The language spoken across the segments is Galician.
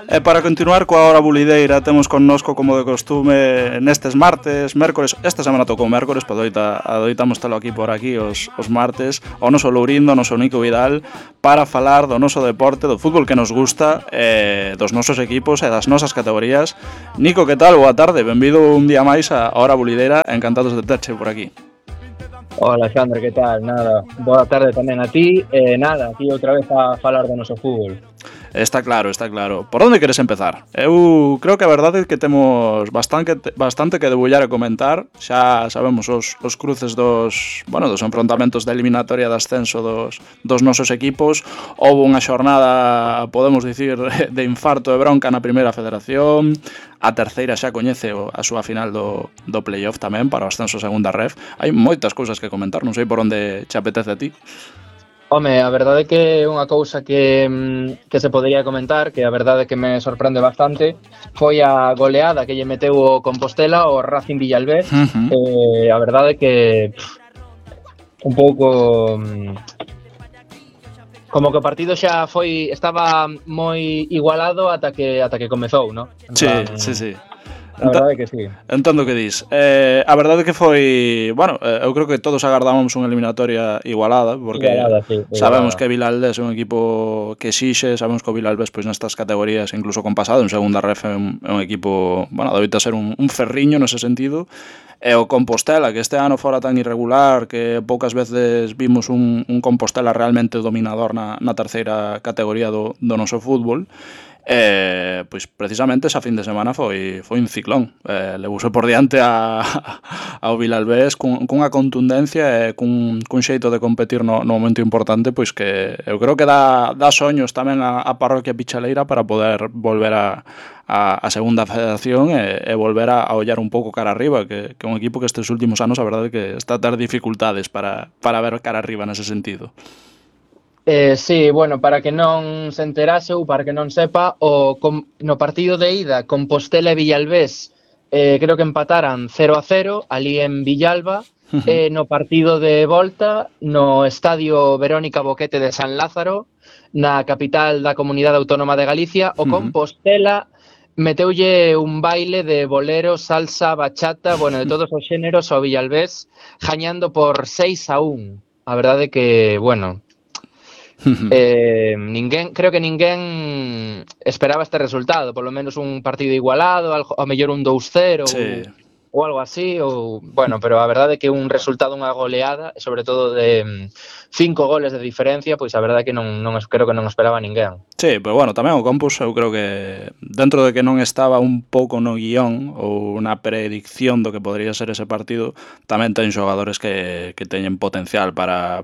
E para continuar coa hora bulideira temos connosco, como de costume, nestes martes, mércores, esta semana tocou mércores, pero adoitamos telo aquí por aquí os martes, o noso Lourindo, o noso Nico Vidal, para falar do noso deporte, do fútbol que nos gusta, dos nosos equipos e das nosas categorías. Nico, que tal? Boa tarde, benvido un día máis a hora bulideira, encantados de terche por aquí. Hola, Xandre, que tal? Nada, boa tarde tamén a ti, nada, aquí outra vez a falar do noso fútbol. Está claro. Por onde queres empezar? Eu creo que a verdade é que temos bastante que debullar e comentar. Xa sabemos os cruces dos enfrontamentos da eliminatoria de ascenso dos nosos equipos. Houve unha xornada, podemos dicir, de infarto e bronca na primeira federación. A terceira xa coñece a súa final do playoff tamén para o ascenso a segunda ref. Hai moitas cousas que comentar, non sei por onde che apetece a ti. Home, a verdade é que é unha cousa que se podería comentar, que a verdade é que me sorprende bastante, foi a goleada que lle meteu o Compostela ao Racing Villalbés. A verdade é que un pouco como que o partido xa estaba moi igualado ata que comezou, ¿no? Sí. A verdade é que sí. Entendo o que dis. A verdade é que foi... Bueno, eu creo que todos agardábamos unha eliminatoria igualada, porque sí, sabemos que Vilalbés é un equipo que exixe, sabemos que o Vilalbés pois nestas categorías, incluso con pasado, en segunda ref é un equipo, bueno, adoita ser un ferriño nese sentido. E o Compostela, que este ano fora tan irregular, que poucas veces vimos un Compostela realmente dominador na terceira categoría do noso fútbol. Pois precisamente esa fin de semana foi un ciclón, levouse por diante ao Vilalbés cunha contundencia e cun xeito de competir no momento importante, pois que eu creo que dá soños tamén a parroquia pichaleira para poder volver a segunda federación e volver a ollar un pouco cara arriba, que é un equipo que estes últimos anos a verdade que está a ter dificultades para ver cara arriba nese sentido. Sí, bueno, para que non se enterase ou para que non sepa, no partido de ida Compostela e Villalbés creo que empataran 0-0 ali en Villalba. No partido de volta no estadio Verónica Boquete de San Lázaro, na capital da Comunidade Autónoma de Galicia, o Compostela meteulle un baile de bolero, salsa, bachata, bueno, de todos os xéneros ao Villalbés, gañando por 6-1. A verdade que, bueno, creo que ninguén esperaba este resultado, polo menos un partido igualado, ao mellor un 2-0 sí, ou algo así, pero a verdade é que un resultado, unha goleada, sobre todo de 5 goles de diferencia, pois a verdade é que creo que non esperaba ninguén. Sí, pero bueno, tamén o Campus eu creo que dentro de que non estaba un pouco no guión ou na predicción do que podría ser ese partido, tamén ten xogadores que teñen potencial para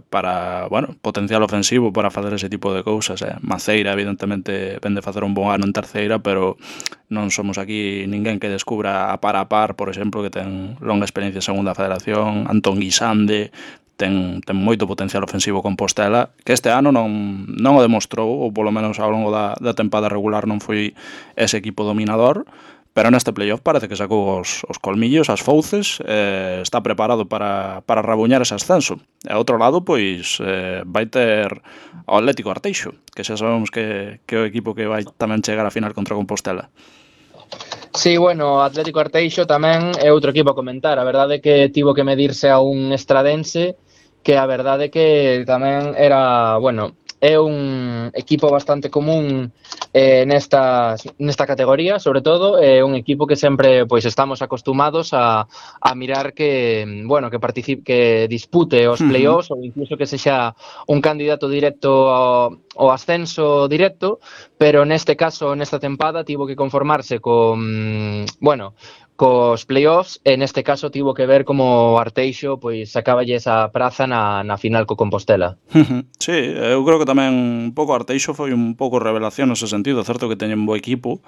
potencial ofensivo para facer ese tipo de cousas. Maceira evidentemente vende facer un bon ano en terceira, pero non somos aquí ninguén que descubra a par, por exemplo, que ten longa experiencia en segunda federación. Antón Guisande ten moito potencial ofensivo Compostela, que este ano non o demostrou, ou polo menos ao longo da tempada regular non foi ese equipo dominador, pero neste playoff parece que sacou os colmillos, as fouces, está preparado para rabuñar ese ascenso. E ao outro lado, pois, vai ter o Atlético Arteixo, que xa sabemos que é o equipo que vai tamén chegar a final contra Compostela. Sí, bueno, Atlético Arteixo tamén é outro equipo a comentar. A verdade é que tivo que medirse a un estradense, que a verdade é que tamén era, bueno, é un equipo bastante común nesta categoría, sobre todo é un equipo que sempre pois estamos acostumados a mirar que, bueno, que participe, que dispute os playoffs ou incluso que sexa un candidato directo ao ascenso directo, pero neste caso, nesta tempada, tivo que conformarse cos playoffs, e neste caso tivo que ver como Arteixo pois sacáballe esa praza na final co Compostela. Sí, eu creo que tamén un pouco Arteixo foi un pouco revelación nese sentido, certo que teñen bo equipo,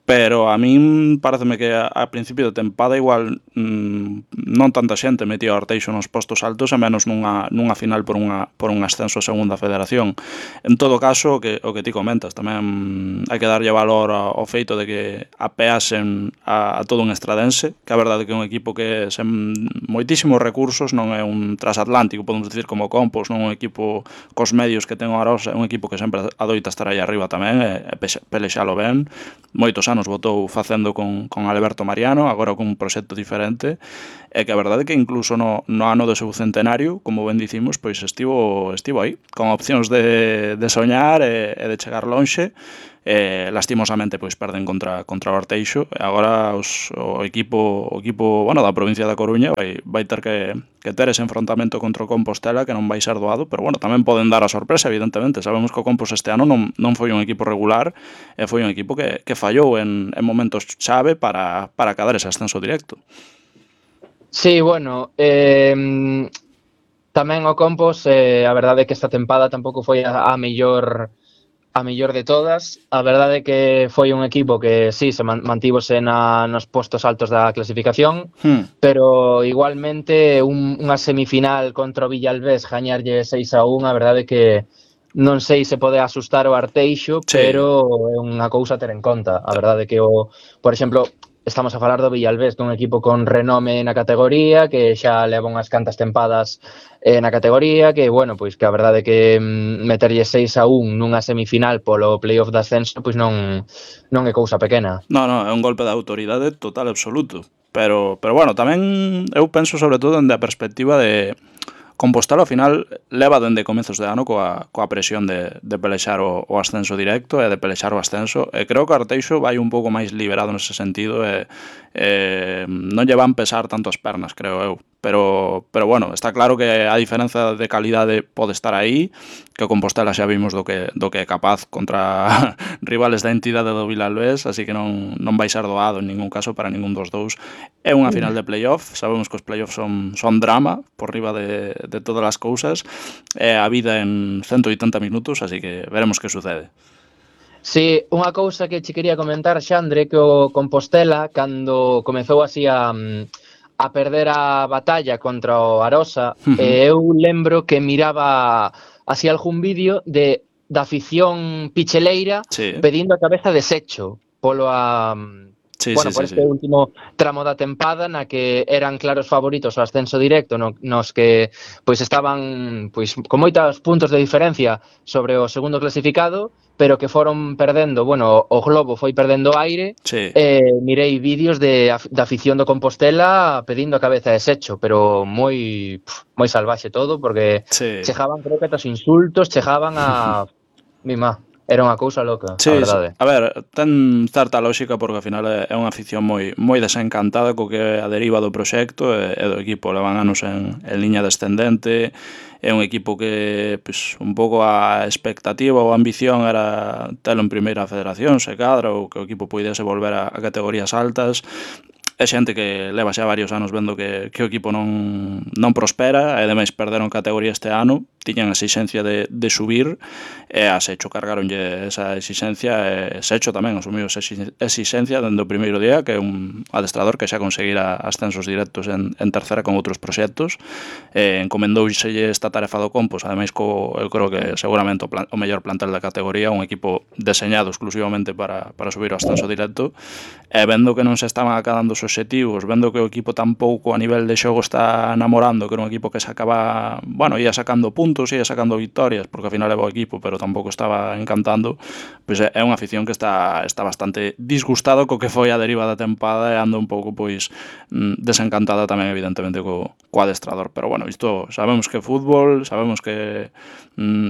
pero a min pareceme que a principio de tempada igual non tanta xente metía o Arteixo nos postos altos e menos nunha final por un ascenso a segunda federación. En todo caso, o que ti comentas, tamén hai que darlle valor ao feito de que apeasen a todo un estradense, que a verdade que é un equipo que sen moitísimos recursos, non é un transatlántico, podemos dicir como Compos, non é un equipo cos medios que ten o Arosa, é un equipo que sempre adoita estar aí arriba tamén e pelexalo ben. Moitos anos votou facendo con Alberto Mariano, agora con un proxecto diferente, e que a verdade que incluso no ano do seu centenario, como ben dicimos, pois estivo aí, con opcións de soñar e de chegar lonxe. Lastimosamente pois perden contra o Arteixo e agora o equipo bueno, da provincia da Coruña vai ter que ter ese enfrontamento contra o Compostela, que non vai ser doado, pero bueno, tamén poden dar a sorpresa, evidentemente. Sabemos que o Compos este ano non foi un equipo regular e foi un equipo que fallou en momentos chave para cadar ese ascenso directo. Sí, bueno, tamén o Compos, a verdade é que esta tempada tampouco foi a mellor de todas. A verdade é que foi un equipo que sí, se mantívose nos postos altos da clasificación, pero igualmente unha semifinal contra o Villalbés gañarlle 6-1, a verdade é que non sei se pode asustar o Arteixo, sí, pero é unha cousa a ter en conta. A verdade é que, por exemplo, estamos a falar do Villalbés, dun equipo con renome na categoría, que xa leva unhas cantas tempadas na categoría, que, bueno, pois que a verdade é que meterlle 6-1 nunha semifinal polo playoff de ascenso, pois non é cousa pequena. Non, é un golpe de autoridade total absoluto. Pero bueno, tamén eu penso sobre todo dende a perspectiva de Compostela ao final leva dende comezos de ano coa presión de pelexar o ascenso directo e de pelexar o ascenso, e creo que o Arteixo vai un pouco máis liberado nese sentido e non lle van pesar tanto as pernas, creo eu. Pero bueno, está claro que a diferenza de calidade pode estar aí, que o Compostela xa vimos do que é capaz contra rivales da entidade do Vilalbés, así que non vai ser doado en ningún caso para ningún dos dous. É unha final de playoff, sabemos que os playoffs son drama por riba de todas as cousas, é a vida en 180 minutos, así que veremos que sucede. Sí, unha cousa que che quería comentar, Xandre, que o Compostela, cando comezou así a perder a batalla contra o Arosa, eu lembro que miraba así algún vídeo da afición picheleira, sí, pedindo a cabeza de Secho polo por este último tramo da tempada na que eran claros favoritos ao ascenso directo, nos que pois estaban pois con moitos puntos de diferencia sobre o segundo clasificado, pero que foron perdendo, bueno, o globo foi perdendo aire, sí, mirei vídeos da afición do Compostela pedindo a cabeza de Secho, pero moi salvaxe todo, porque sí, chegaban, creo que aos insultos, chegaban a mima. Era unha cousa loca, sí, a verdade. Sí. A ver, ten certa lógica porque ao final é unha afición moi desencantada co que é a deriva do proxecto e do equipo. Levan anos en liña descendente, é un equipo que pues, un pouco a expectativa ou a ambición era telo en primeira federación, se cadra, ou que o equipo puidese volver a categorías altas. É xente que leva xa varios anos vendo que o equipo non prospera e ademais perderon categoría este ano, tiñan a exixencia de subir e a Secho cargaronlle esa exixencia e Secho tamén asumiu esa exixencia dende o primeiro día, que é un adestrador que xa conseguira ascensos directos en tercera con outros proxectos, encomendouselle esta tarefa do Compos, ademais eu creo que seguramente o mellor plantel da categoría, un equipo deseñado exclusivamente para subir o ascenso directo, e vendo que non se estaban acabando os obxectivos, vendo que o equipo tampouco a nivel de xogo está namorando, que era un equipo que sacaba, bueno, ia sacando puntos, ia sacando victorias, porque ao final leva o equipo, pero tampouco estaba encantando, pois é unha afición que está bastante disgustado co que foi a deriva da tempada e anda un pouco pois desencantada tamén evidentemente co adestrador, pero bueno, isto sabemos que é fútbol, sabemos que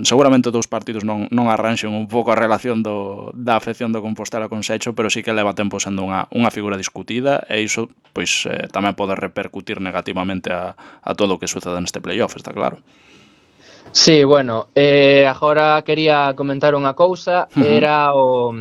seguramente dous partidos non arranxen un pouco a relación da afección do Compostela con Secho, pero sí que leva tempo sendo unha figura discutida e iso pois tamén pode repercutir negativamente a todo o que suceda neste playoff, está claro. Sí, bueno, agora quería comentar unha cousa, era o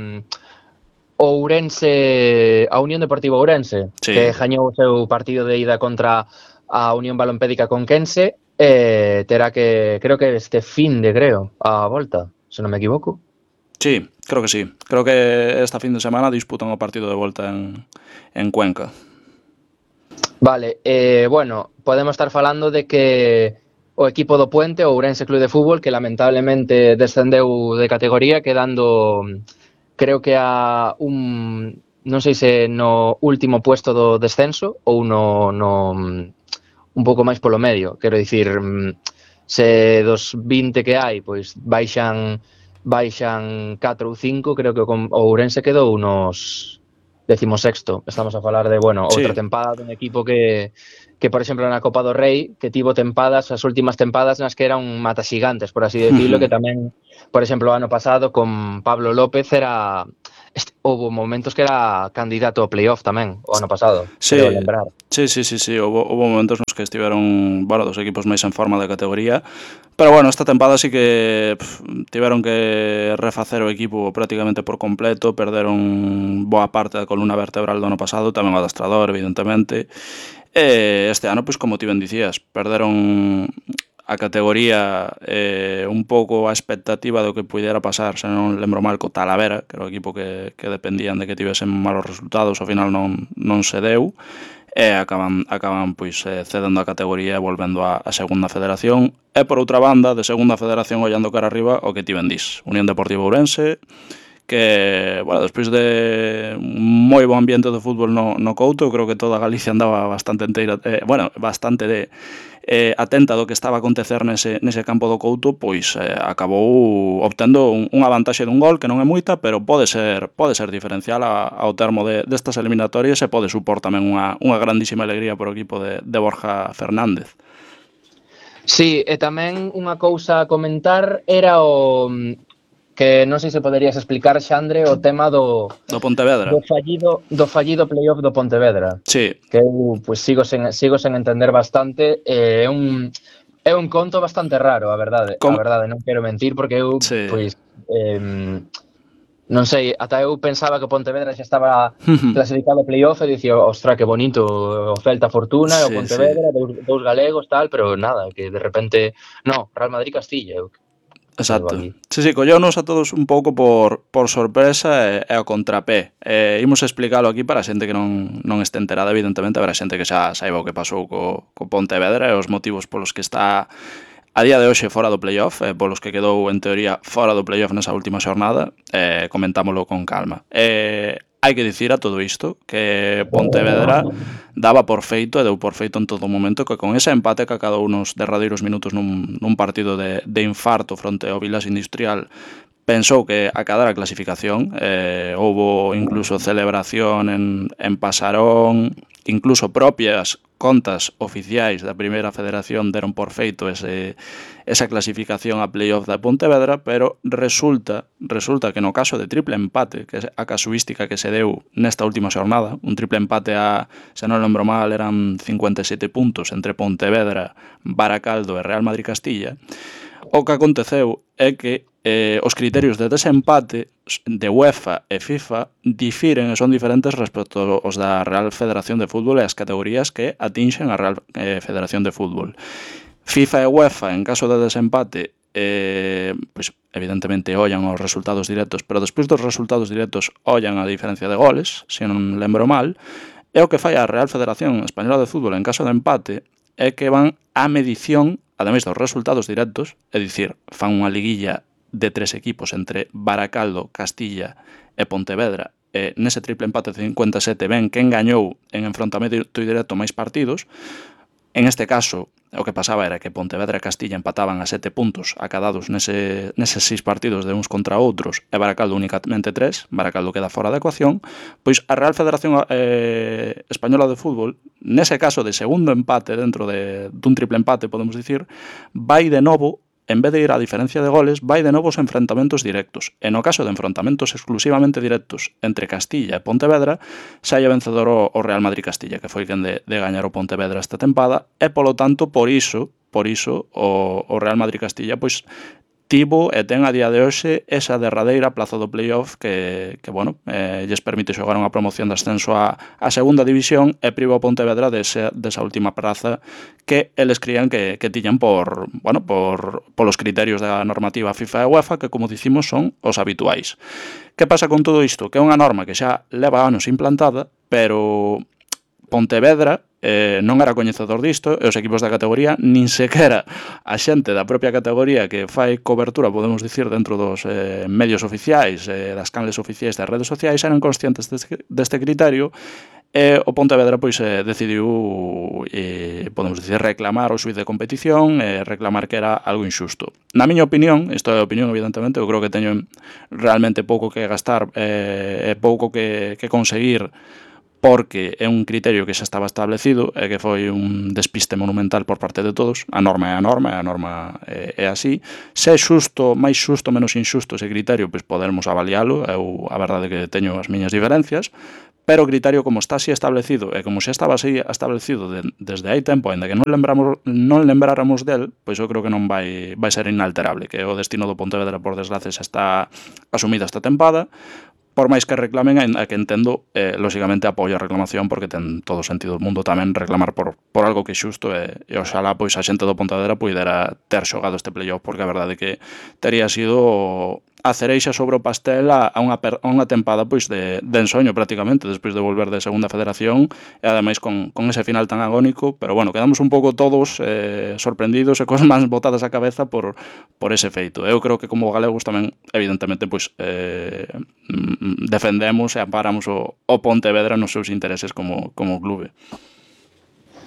Ourense, a Unión Deportiva Ourense, sí, que gañou o seu partido de ida contra a Unión Balompédica Conquense, terá que, creo que este fin de, a volta, se non me equivoco. Sí, creo que sí. Creo que esta fin de semana disputan o partido de volta en Cuenca. Vale, bueno, podemos estar falando de que o equipo do Puente, o Ourense Club de Fútbol, que lamentablemente descendeu de categoría, quedando, creo que a non sei se no último puesto do descenso ou un pouco máis polo medio, quero dicir, se dos 20 que hai, pois baixan 4 ou 5, creo que o Ourense quedou unos 16º. Estamos a falar de, bueno, outra Sí. tempada dun equipo que, por exemplo, na Copa do Rei, que tivo tempadas, as últimas tempadas nas que eran mataxigantes, por así decirlo, que tamén, por exemplo, o ano pasado con Pablo López houve momentos que era candidato ao playoff tamén, o ano pasado, creo Sí, lembrar. sí. Houve momentos nos que estiveron, bueno, dos equipos máis en forma de categoría, pero bueno, esta tempada sí que tiveron que refacer o equipo prácticamente por completo, perderon boa parte da columna vertebral do ano pasado, tamén o adestrador, evidentemente. Este ano, pois como ti ben dicías, perderon a categoría un pouco a expectativa do que puidera pasar, se non lembro mal, co Talavera, que era o equipo que dependían de que tivesen malos resultados, ao final non se deu, e acaban pois cedendo a categoría e volvendo a segunda federación. E por outra banda, de segunda federación ollando cara arriba, o que ti ben dís, Unión Deportiva Ourense, que, bueno, despois de un moi bo ambiente de fútbol no Couto, creo que toda Galicia andaba bastante enteira, atenta do que estaba a acontecer nese campo do Couto, pois acabou obtendo unha vantaxe dun gol que non é moita, pero pode ser diferencial ao termo destas eliminatorias, e pode supor tamén unha grandísima alegría por o equipo de Borja Fernández. Sí, e tamén unha cousa a comentar era o que non sei se poderías explicar, Xandre, o tema do Pontevedra. fallido playoff do Pontevedra. Sí. Que eu pues, sigo sen entender bastante. É un conto bastante raro, a verdade. A verdade, non quero mentir, porque eu, Sí. pois, non sei, ata eu pensaba que o Pontevedra xa estaba clasificado ao playoff e dicía, ostra, que bonito, o Celta Fortuna e o Pontevedra, dous galegos, tal, pero nada, que de repente, no, Real Madrid Castilla, Exacto. Sí, colleunos a todos un pouco por sorpresa e ao contrapé. Imos explicalo aquí para a xente que non este enterada, evidentemente, haberá xente que xa saiba o que pasou co Pontevedra e os motivos polos que está a día de hoxe fora do playoff, polos que quedou en teoría fora do playoff nesa última xornada, comentámolo con calma. Hai que dicir a todo isto que Pontevedra daba por feito e deu por feito en todo momento que con ese empate que acadou nos derradeiros minutos nun partido de infarto fronte ao Vilas Industrial pensou que acadara a clasificación. Houbo incluso celebración en Pasarón, incluso propias contas oficiais da primeira federación deron por feito esa clasificación a playoff da Pontevedra, pero resulta que no caso de triple empate, que é a casuística que se deu nesta última xornada, un triple empate se non lembro mal, eran 57 puntos entre Pontevedra, Baracaldo e Real Madrid Castilla. O que aconteceu é que os criterios de desempate de UEFA e FIFA difiren e son diferentes respecto aos da Real Federación de Fútbol e as categorías que atinxen a Real Federación de Fútbol. FIFA e UEFA, en caso de desempate, pois evidentemente ollan os resultados directos, pero despois dos resultados directos ollan a diferencia de goles, se non lembro mal, e o que fai a Real Federación Española de Fútbol en caso de empate é que van á medición, ademais dos resultados directos, é dicir, fan unha liguilla de 3 equipos entre Baracaldo, Castilla e Pontevedra, e nese triple empate de 57 ven quen gañou en enfrontamento directo máis partidos. En este caso, o que pasaba era que Pontevedra e Castilla empataban a 7 puntos acadados neses 6 partidos de uns contra outros e Baracaldo únicamente 3, Baracaldo queda fora da ecuación. Pois a Real Federación Española de Fútbol, nese caso de segundo empate dentro dun triple empate, podemos dicir, vai de novo, en vez de ir a diferencia de goles, vai de novo aos enfrentamentos directos. E no caso de enfrentamentos exclusivamente directos entre Castilla e Pontevedra, saia vencedor o Real Madrid Castilla, que foi quen de gañar o Pontevedra esta tempada, e polo tanto, por iso o Real Madrid Castilla pois tivo e ten a día de hoxe esa derradeira plaza do playoff que bueno, lles permite xogar unha promoción de ascenso a segunda división e priva o Pontevedra desa última praza que eles crían que tiñan polos criterios da normativa FIFA e UEFA, que, como dicimos, son os habituais. Que pasa con todo isto? Que é unha norma que xa leva anos implantada, pero Pontevedra non era coñecedor disto, e os equipos da categoría, nin sequera a xente da propia categoría que fai cobertura, podemos dicir, dentro dos medios oficiais, das canles oficiais das redes sociais, eran conscientes deste criterio, e o Pontevedra pois decidiu, podemos dicir, reclamar o xuiz de competición, reclamar que era algo injusto. Na miña opinión, isto é a opinión evidentemente, eu creo que teño realmente pouco que gastar e pouco que conseguir, porque é un criterio que xa estaba establecido e que foi un despiste monumental por parte de todos. A norma é a norma, e a norma é así. Se é xusto, máis xusto, menos injusto ese criterio, pois podermos avalialo. Eu, a verdade, que teño as miñas diferencias, pero o criterio, como está así establecido e como xa estaba así establecido desde hai tempo, ainda que non lembráramos del, pois eu creo que non vai ser inalterable, que o destino do Pontevedra, por desgracia, xa está asumido esta tempada. Por máis que reclamen, a que entendo, lóxicamente apoio a reclamación, porque ten todo o sentido do mundo tamén reclamar por algo que é xusto, e oxalá pois a xente do Pontevedra puidera ter xogado este playoff, porque a verdade é que tería sido a cereixa sobre o pastel a unha tempada pois de ensoño prácticamente, despois de volver de segunda federación, e ademais con ese final tan agónico, pero bueno, quedamos un pouco todos sorprendidos e cos mans botadas á cabeza por ese feito. Eu creo que como galegos tamén, evidentemente, pois defendemos e amparamos o Pontevedra nos seus intereses como clube.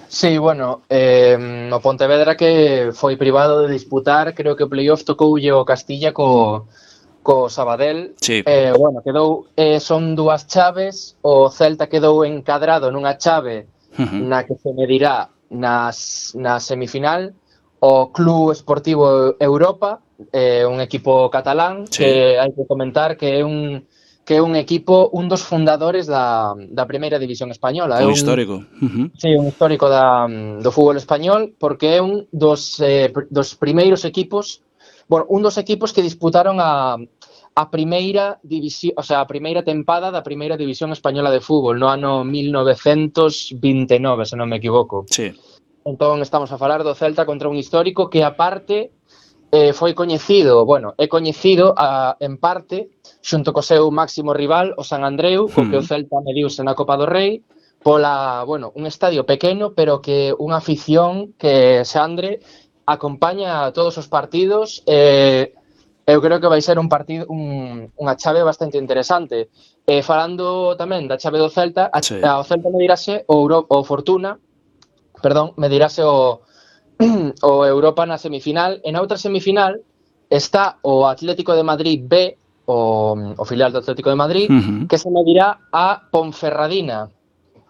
Sí, bueno, o Pontevedra que foi privado de disputar, creo que o playoff tocoulle o Castilla co Sabadell. Sí. Bueno, quedou, son dúas chaves, o Celta quedou encadrado nunha chave na que se medirá na semifinal o Club Esportivo Europa, un equipo catalán, sí, que hai que comentar que é un equipo, un dos fundadores da primeira división española. Un histórico. Sí, un histórico do fútbol español, porque é un dos primeiros equipos, bueno, un dos equipos que disputaron a primeira división, o sea, a primeira tempada da primeira división española de fútbol no ano 1929, se non me equivoco. Sí. Entón estamos a falar do Celta contra un histórico que aparte foi coñecido, bueno, é coñecido en parte xunto co seu máximo rival, o San Andreu, co que o Celta mediuse na Copa do Rei, pola, bueno, un estadio pequeno, pero que unha afición que Xandre acompaña a todos os partidos. Eu creo que vai ser un partido, unha chave bastante interesante. Falando tamén da chave do Celta, ao Celta medirase o Fortuna, medirase o Europa na semifinal. En outra semifinal está o Atlético de Madrid B, o filial do Atlético de Madrid, que se medirá a Ponferradina.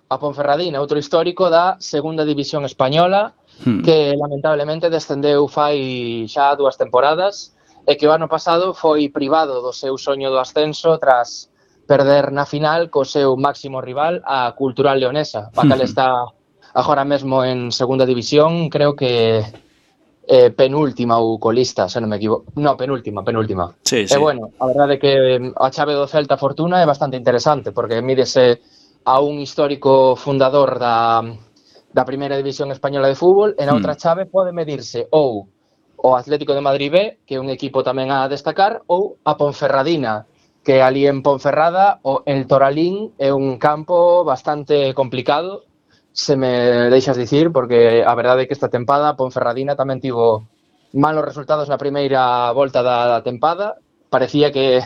A Ponferradina, outro histórico da segunda división española, que lamentablemente descendeu fai xa 2 temporadas, e que o ano pasado foi privado do seu soño do ascenso tras perder na final co seu máximo rival, a Cultural Leonesa, a cal está agora mesmo en segunda división, creo que penúltima ou colista, se non me equivoco. No, penúltima. Sí. E bueno, a verdade é que a chave do Celta Fortuna é bastante interesante, porque mídese a un histórico fundador da primeira división española de fútbol, e na outra chave pode medirse ou o Atlético de Madrid B, que é un equipo tamén a destacar, ou a Ponferradina, que ali en Ponferrada o El Toralín é un campo bastante complicado, se me deixas dicir, porque a verdade é que esta tempada Ponferradina tamén tivo malos resultados na primeira volta da tempada, parecía que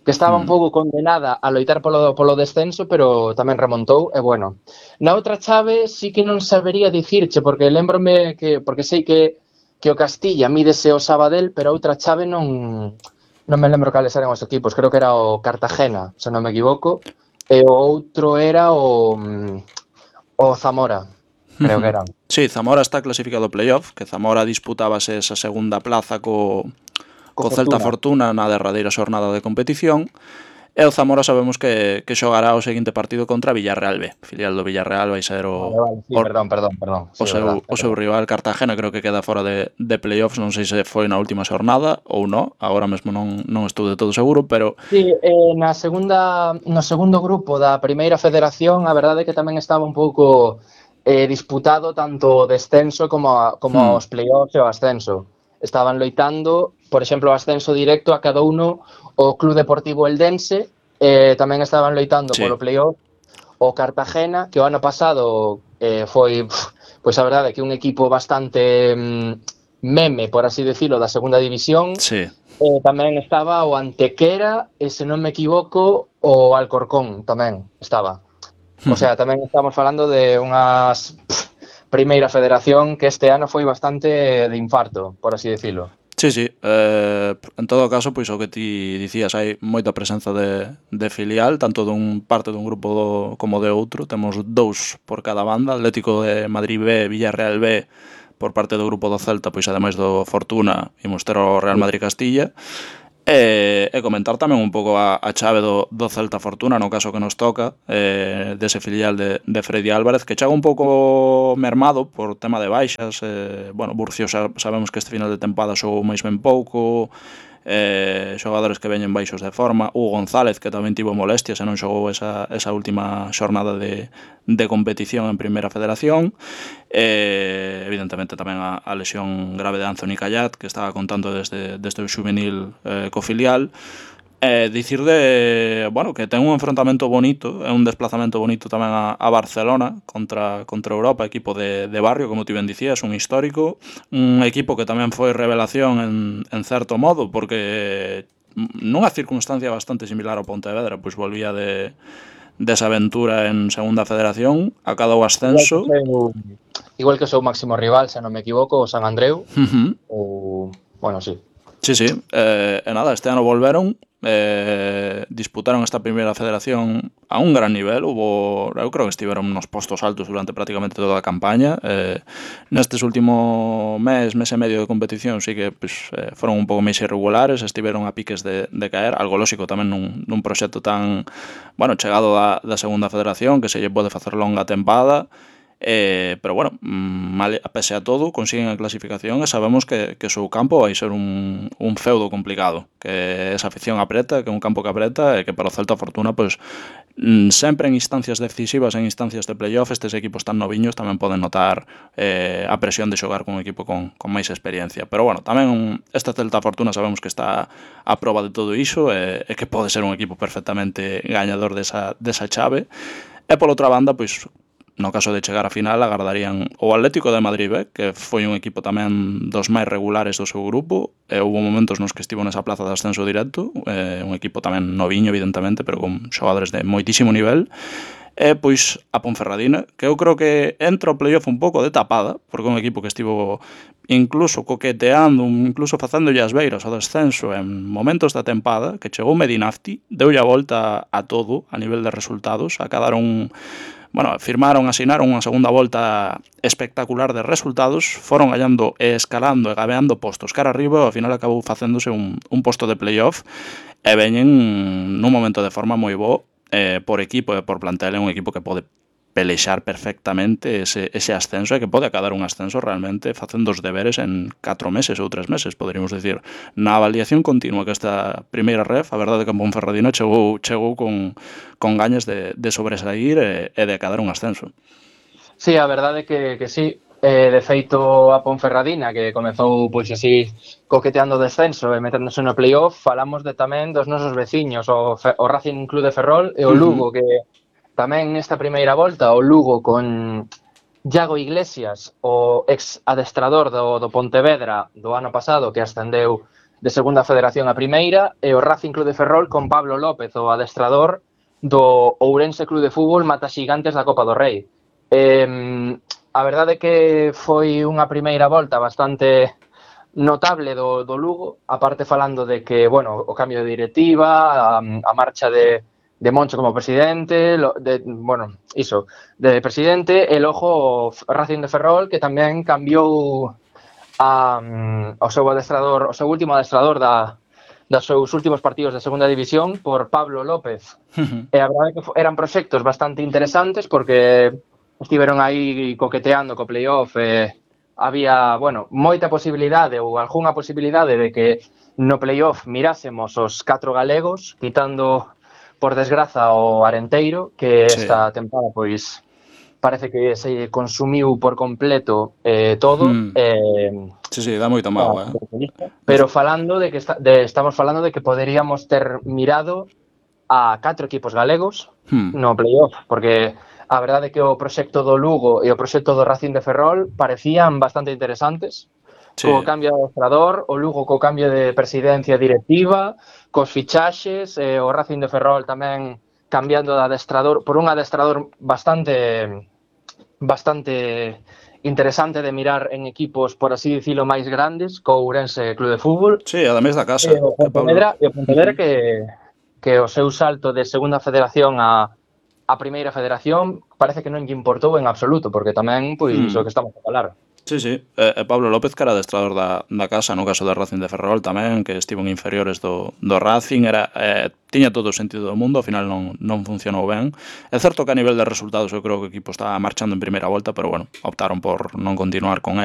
estaba un pouco condenada a loitar polo descenso, pero tamén remontou, e bueno. Na outra chave sí que non sabería dicirche, porque lembrome porque sei que o Castilla mídese o Sabadell, pero outra chave non me lembro cales eran os equipos, creo que era o Cartagena, se non me equivoco, e o outro era o Zamora, creo que era. Sí, Zamora está clasificado playoff, que Zamora disputábase esa segunda plaza co Celta Fortuna na derradeira xornada de competición, E o Zamora sabemos que xogará o seguinte partido contra Villarreal B. Filial do Villarreal vai ser Vale, sí, perdón. Sí, verdad. o seu rival Cartagena, creo que queda fora de playoffs, non sei se foi na última xornada ou non, agora mesmo non estou de todo seguro, pero Sí, no segundo grupo da primeira federación, a verdade é que tamén estaba un pouco disputado tanto o descenso como os playoffs e o ascenso. Estaban loitando, por exemplo, o ascenso directo a cada uno o Club Deportivo Eldense, tamén estaban loitando sí. polo playoff o Cartagena, que o ano pasado foi, pois a verdade, que un equipo bastante meme, por así decirlo, da segunda división. Sí. Tamén estaba o Antequera e, se non me equivoco, o Alcorcón tamén estaba. O sea, tamén estamos falando de unhas primeira federación que este ano foi bastante de infarto, por así decirlo. Sí, sí, en todo caso, pois o que ti dicías, hai moita presenza de filial, tanto dun parte dun grupo como de outro, temos 2 por cada banda, Atlético de Madrid B, Villarreal B, por parte do grupo do Celta, pois ademais do Fortuna, imos ter o Real Madrid Castilla, e comentar tamén un pouco a chave do Celta Fortuna, no caso que nos toca, dese filial de Freddy Álvarez, que chega un pouco mermado por tema de baixas. Bueno, Burcio sabemos que este final de tempada xogou máis ben pouco, xogadores que veñen baixos de forma, Hugo González, que tamén tivo molestias e non xogou esa última xornada de competición en Primeira Federación, evidentemente tamén a lesión grave de Anthony Callat, que estaba contando desde o xuvenil co filial. Dicir bueno, que ten un enfrontamento bonito, é un desplazamento bonito tamén a Barcelona contra Europa, equipo de barrio, como ti ben dicías, un histórico, un equipo que tamén foi revelación en certo modo, porque nunha circunstancia bastante similar ao Pontevedra, pois volvía desa aventura en Segunda Federación, acadou ascenso. Igual que o seu máximo rival, se non me equivoco, o San Andreu. Bueno, sí. Sí, sí, e nada, este ano volveron, disputaron esta primeira federación a un gran nivel, eu creo que estiveron nos postos altos durante prácticamente toda a campaña. Nestes último mes e medio de competición sí que pues, foron un pouco máis irregulares, estiveron a piques de caer, algo lóxico tamén nun proxecto tan, bueno, chegado da segunda federación, que se lle pode facer longa tempada. Pero bueno, pese a todo, consiguen a clasificación e sabemos que o seu campo vai ser un feudo complicado, que esa afición apreta, que é un campo que apreta e que para o Celta Fortuna, pues, sempre en instancias decisivas, en instancias de playoff, estes equipos tan noviños tamén poden notar a presión de xogar con un equipo con máis experiencia. Pero bueno, tamén este Celta Fortuna sabemos que está a proba de todo iso e que pode ser un equipo perfectamente gañador desa chave. E pola outra banda, pois, no caso de chegar a final, agardarían o Atlético de Madrid B, que foi un equipo tamén dos máis regulares do seu grupo, e houve momentos nos que estivo nesa plaza de ascenso directo, un equipo tamén noviño, evidentemente, pero con xogadores de moitísimo nivel, e pois a Ponferradina, que eu creo que entra o playoff un pouco de tapada, porque é un equipo que estivo incluso coqueteando, incluso facéndolle as beiras ao descenso en momentos da tempada, que chegou Medinafti, deulle a volta a todo a nivel de resultados, acadaron, bueno, asinaron unha segunda volta espectacular de resultados, foron gallando e escalando e gabeando postos cara arriba, e ao final acabou facéndose un posto de playoff, e veñen nun momento de forma moi bo, por equipo e por plantel, é un equipo que pode pelexar perfectamente ese ascenso e que pode acadar un ascenso realmente facendo os deberes en 4 meses ou 3 meses, poderíamos dicir. Na avaliación continua que esta primeira ref, a verdade que en Ponferradina chegou con gañas de sobresair e de acadar un ascenso. Sí, a verdade que sí. De feito, a Ponferradina, que comezou pois así coqueteando o descenso e meténdose no playoff, falamos tamén dos nosos veciños, o Racing Club de Ferrol e o Lugo, que tamén nesta primeira volta, o Lugo con Iago Iglesias, o ex adestrador do Pontevedra do ano pasado, que ascendeu de segunda federación a primeira, e o Racing Club de Ferrol con Pablo López, o adestrador do Ourense Club de Fútbol Mataxigantes da Copa do Rei. A verdade é que foi unha primeira volta bastante notable do Lugo, aparte falando de que, bueno, o cambio de directiva, a marcha de Moncho como presidente, de presidente, e logo o Racing de Ferrol, que tamén cambiou o seu último adestrador dos seus últimos partidos de segunda división por Pablo López. E a verdade é que eran proxectos bastante interesantes porque estiveron aí coqueteando co playoff e había, bueno, moita posibilidade ou algunha posibilidade de que no playoff mirásemos os 4 galegos, quitando por desgraza o Arenteiro, que esta tempada pois parece que se consumiu por completo todo. Sí, dá moita mágoa, Pero falando de que estamos falando de que poderíamos ter mirado a 4 equipos galegos no playoff, porque a verdade é que o proxecto do Lugo e o proxecto do Racing de Ferrol parecían bastante interesantes. Co cambio de adestrador, o Lugo co cambio de presidencia directiva, cos fichaxes, o Racing de Ferrol tamén cambiando de adestrador por un adestrador bastante interesante de mirar en equipos, por así dicilo, máis grandes, co Ourense Club de Fútbol. Sí, ademais da casa. E o Pontevedra que o seu salto de segunda federación a primeira federación parece que non lle importou en absoluto, porque tamén, pois, o que estamos a falar. Sí. Pablo López, que era adestrador da casa, no caso do Racing de Ferrol tamén, que estivo en inferiores do Racing, tiña todo o sentido do mundo, ao final non funcionou ben. É certo que a nivel de resultados eu creo que o equipo estaba marchando en primeira volta, pero bueno, optaron por non continuar con él.